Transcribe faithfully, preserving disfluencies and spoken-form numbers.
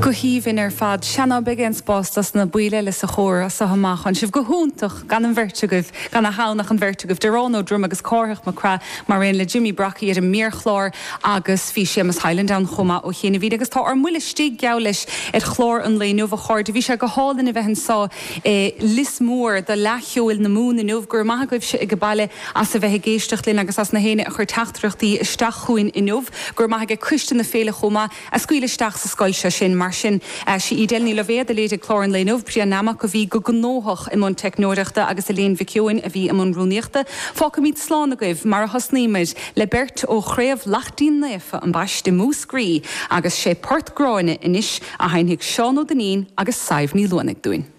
Go haoibhinn ar fad sea ná beidh aon spás dos na baill eile sa chór as seo amach. Tá sibh go hiontach gan an bheirt agaibh gan a hannach an bheirt agaibh Diarán Ó Druim agus Cárthach Mac Craith mar aon le Jimmy Brockie ar an méarchlár agus bhí Séamus Hyland ann chomh maith ó chianaibh agus tá ár mbuille istigh geall leis ar chlár an lae inniu a chairde bhí sé go hálainn a bheith anseo i Lios Mór do Fhleadh Cheoil na Mumhan inniu gur maith agaibhse ag an mbaile as a bheith ag éisteacht linn agus as na héinne a chuir teachtaireachtaí isteach chugainn inniu gur maith ag coiste na féile chomh maith a scaoil isteach sa scoil seo sin mar sin sí Edel Ní Loibhéad a léirigh clár an lae inniu Brian Namach a bhí go gnóthach i mbun teicneoireachta agus Elaine Mhic Eoin a bhí i mbun rúnaíochta. Fágfaimid slán agaibh mar a thosnaíomar le beirt ó chraobh Laichtín Naofa an Baiste Múscraí agus sé Port Gráine anois a sheinnfidh Seán Ó Duinnín agus Sadhbh Ní Luanaigh dúinn.